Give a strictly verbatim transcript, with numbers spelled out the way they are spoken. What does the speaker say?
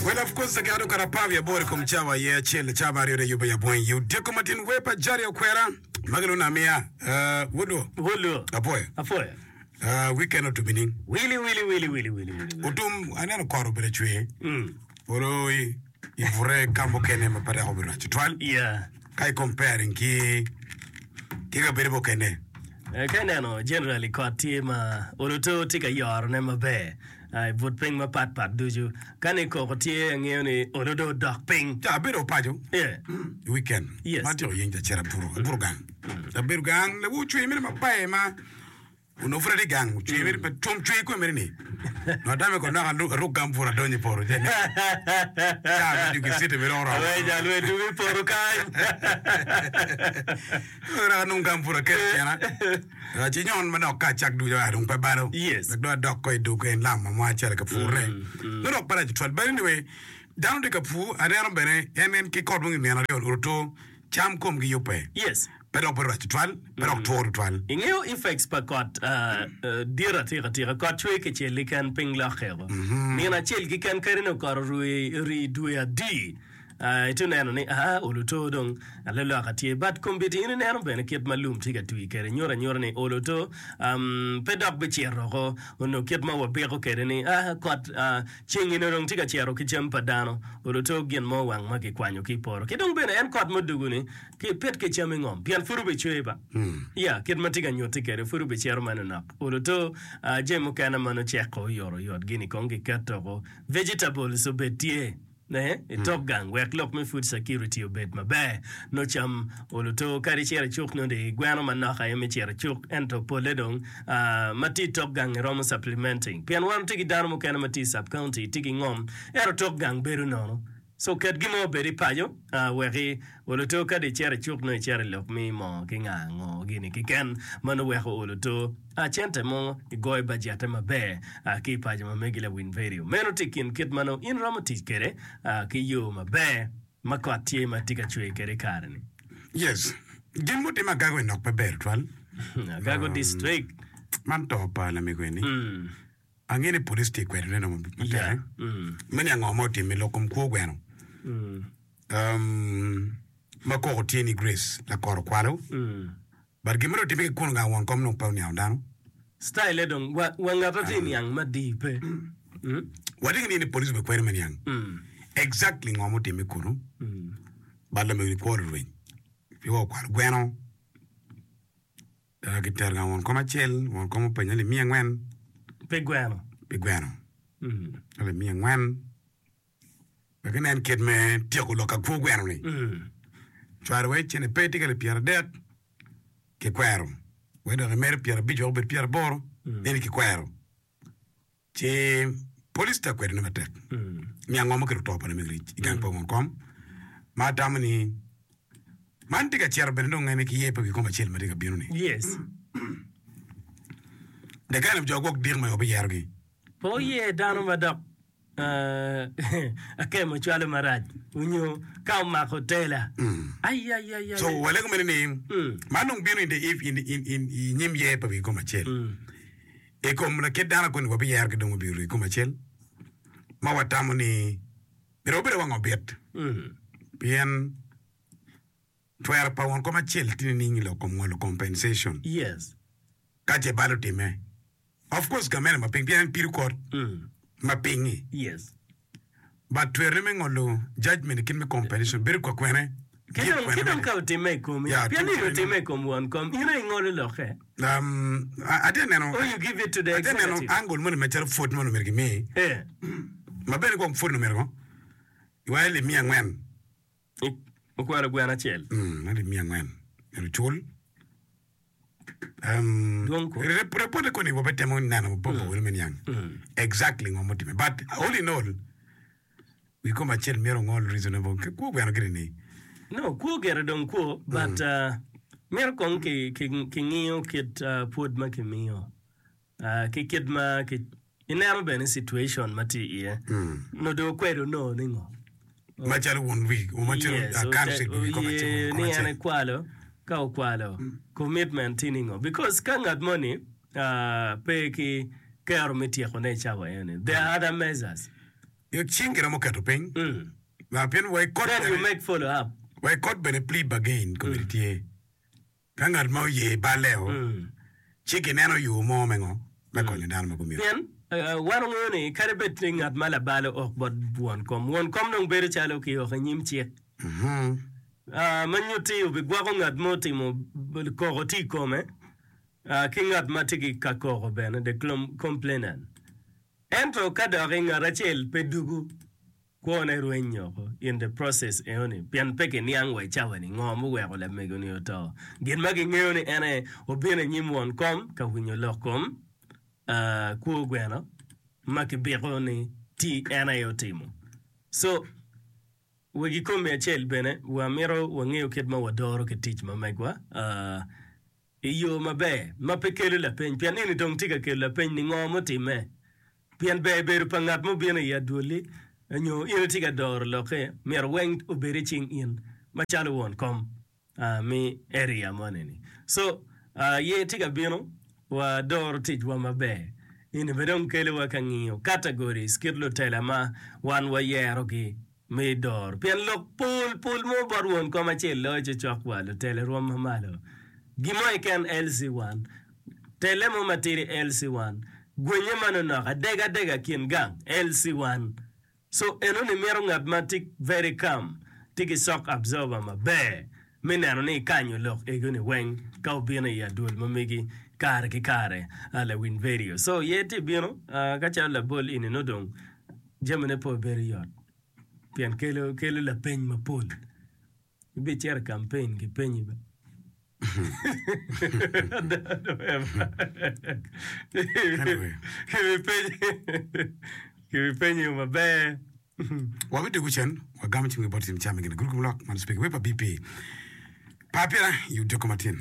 Well, of course, dakika dong kara apar wiye aboro i kom cawa aye acel cawa aryo de yubbe ya bweng yu dyeko matin wer pa Jari Okwera ma gilwongo ni Amiya. Uh, wodwo, Wodwo. apoyo. Apoyo. Uh, weekend otum nining? Wili wili wili wili wili wili. Otum, aneno kot obedo cwer. Mm. Olo i i bute ka mukene ma pe dok obedo rac tutwal. Yeah. Ka i comparing ki ki kabedo mukene. Eh, Ka ineno generally kot tye ma oloto tye ka yorone maber ah, i but piny mapat pat ducu. Ka ni koko tye angeyo ni olo dong odok piny. Ca abedo paco Yeah. i weekend. Yes. Ma atyeko yeng ca acito abuto, abuto gang. Abedo gang, lawor ocwer mere maber ma onongo pud atye gang, ocwer mere pe twom cwer kome mere ni. Nongo atame ko nok alu- aruk gambut adonyo i poto ce ni. Ca me dwogo i city bene oromo. Awe jal we dwogo i poto kany. Dok anong gambut aketo i tyena. Ah, Ci nyon manok ka acak ducu aa dong pe balo. Yes. Wek dong adok ko i dog en lam ma mo acito ka purne. Nongo dok pe rac tutwal. But anyway, dano tye ka pur, aneno bene en en ki kot weng i nino aryo oruto cam komgi yubbe. Yes. Pe dok bedo rac tutwal, pe dok two tutwal. Ingeyo effects pa kot ah, eh, dit atika tika. Kot cwer kicel keken piny lokke o. Nino acel keken kadi nongo kot orui rii dwe adi. Ah, itye neno ni ah, oluto dong aloloka tye. But kombeddi in ineno bene kit ma lum tye ka twi kwede nyuto anyuta ni oluto um, pe dok bicito oko. Onongo kit ma wabiko kwede ni ah, kot ah, ceng eni dong tye ka cito ki cam pa dano. Oluto gin mo wang ma kikwanyo ki i poto. Ki dong bene en kot mudugu-ni ki pit ki cam i ngom pien pud obicwer ba. Ya, kit ma tye ka nyutti kwede pud obicito manonok. Oluto ah, jami mukene ma nongo ceko oyotoyot gini kong kiketo oko. Vegetables obed tye. Ne, i tok gang wek lok me food security obed maber. Nongo cam oluto kadi icito i cuk nongo di gweno manok aye me cito i cuk ento pole dong ah, ma tye i tok gang iromo supplementing pien wan watye ki dano mukene ma tye i sub county tye ki ngom ento tok gang bedo nono so ket gin mo obed i paco ah, wek oluto kadi icito i cuk nongo icito i lok me moo ki nga ngo gini keken ma nongo weko oluto ah, cente mo igoyo bajette maber ah, ki i paco ma megi lawiny vedio. Meno tye i kin kit ma nongo in romo tic kwede ah, ki yo maber ma kot tye ma tye ka cwer kwede i kare-ni. Yes. Gin mutimme Agago i nok pe ber tutwal. Agago district. Man to pa lamego eni. Mm. Angeyo ni police tye kwede ne matek. Yeah. Mm. Me niang ngo ma otimme lok kom kwo gweno. Mm. Um, ma koko tye ni Grace lakoro kwalo. Mm. But gin ma dong otimme ki kunu gang won kom dong pe oniango dano. Style dong wa, wa ngat atye niang madii pe. Mm. Watye ki niye ni police obekwero me niang Mm. exactly ngo ma otimme kunu. Mm. But lamego ni kwo lurweny. Pi wa okwalo gweno. Uh, kitero gang won kom acel, won kom openyo alip miya angwen Pi gweno. pi gweno. Mm. Alip miya angwen. Wek inen kit me tyeko lok ka kwo gweno ni. Mm. Cwaro wai cene pe tye ka alip pyeradek kikwero. Wek dok imedo pyerabic wek obed pyeraboro, eni kikwero. Ci police tye ka kwedone matek. Mm. Niang ngo ma okelo to pa lamego i gang pa won kom. Ma atamo ni man tye ka cito bene dong en ki ye pe ki kom acel ma tye ka bino ni. Yes. The kind of jo gwok dik ma obiyerogi. Pe oye dano ma dok akemo cwalo marac onyo ka omako tela. Ayayaya. So walego mere ni Mm. man dong bino in the if in in in i nyim yer pa wi kom acel. Mm. I kom lakit dano koni wabiyero ki dong wabiro i kom acel ma watamo ni myero wabedo wang obit Mm. pien twero pa won kom acel tye nining i lok kom ngolo compensation Yes. ka ce bal otimme. Of course gamente ma piny pien en pido kot Mm. ma pinyi. Yes. But twerone me ngolo judgment i kit me compensation bedo kwa kwene. Ki Give dong, kwene ki dong mene. ka otimme i komi, Yeah, pien tim ni kwene otimme mene. i kom won kom, in aye ingolo lokke. Um, a- atye neno Or you give it to the atye neno executive. angle moni macalo pwod moni myero kimi Eh. ma bene gwok pwod omyero ko iwaco alip miya angwen I- Okwalo gweno acel. Mm, alip miya angwen myero ocul Um, Dwong ko. rep- repote koni wabitemo neno bobo wunu me niang Mm. exactly ngo mutime but all in all wi kom acel myero ongol reasonable Ki- kwo gweno gire ni No, kwo gire dong kwo, but uh, myero kong ki, ki, kingiyo kit uh, pwod ma kimiyo. Uh, ki kit ma ki, ineno bene situation ma tye iye. No dong okwedo no ni ngo. macalo won wi macalo Yes, uh, council wi kom acel oye won kom ni en acel ekwalo, ka okwalo, commitment tye ni ngo. Because ka ngat moni uh, pe ki kero me tyekone i cawa eni, there are other measures. Cing giromo keto piny. Ma pien wa i court Then you bene make follow up. wa i court bene plea bargain komedi tye. Ka ngat ma oye balle-o, ci gineno yo mo me ngo me konyo dano ma gumito. Pien wan wangeyo ni kadi bed ni ngat ma labalo ok bot won kom, won kom dong bedo calo kioko i nyim cik ma nyutti obigwoko ngat ma otimo koko tye i kome ki ngat ma tye ka koko bene, the complainant. Ento ka doki ngat acel pe dugu, kwone rweny woko in the process enoni pien pe kiniang wa i cawa ni ngo muweko lamego ni oto. Gin ma kingeyo ni en aye obino i nyim won kom ka winyo lok kom kwo gweno ma kibiko ni ti en aye otimo. So wegi komi acel bene wamito wangeyo kit ma wadoro ki tic ma megwa i yo maber ma pe kelo lapeny pien eni dong tye ka kelo lapeny ni ngo mutimme. Pien ber bedo pa ngat mubino i adwolli nyo in itye ka doro lokke myero weng obed i cing in macalo won kom me area moni-ni. So, ye tye ka bino wa doro ticwa maber. Eni bene dong kelo wa ka ngiyo categories kit lutela ma wan wayerogi me doro. Pien lok pol pol mo bot won kom acel loyo cocok wa lutela rwom ma malo. Gin mo keken L C one, telle mo matidi L C one, gwenye manonok adega adega kin gang L C one. So enoni mito ngat ma tye very calm, tye ki shock absorber maber me neno ni ikanyo lok egoni weng ka obino i adwol ma megi kare ki kare lawiny vedio. So ye tye bino ka calo labol eni nongo dong jamine pe obedo yot pien kelo kelo lapeny mapol. Ibicito i campaign kipenyi ba. Anyway. Kibipenyi maber. Wabidwogo cen, wagamo cimgi bot cim cam i gin gurup lok man speaker wer pa B P. Par pira i odiko matin.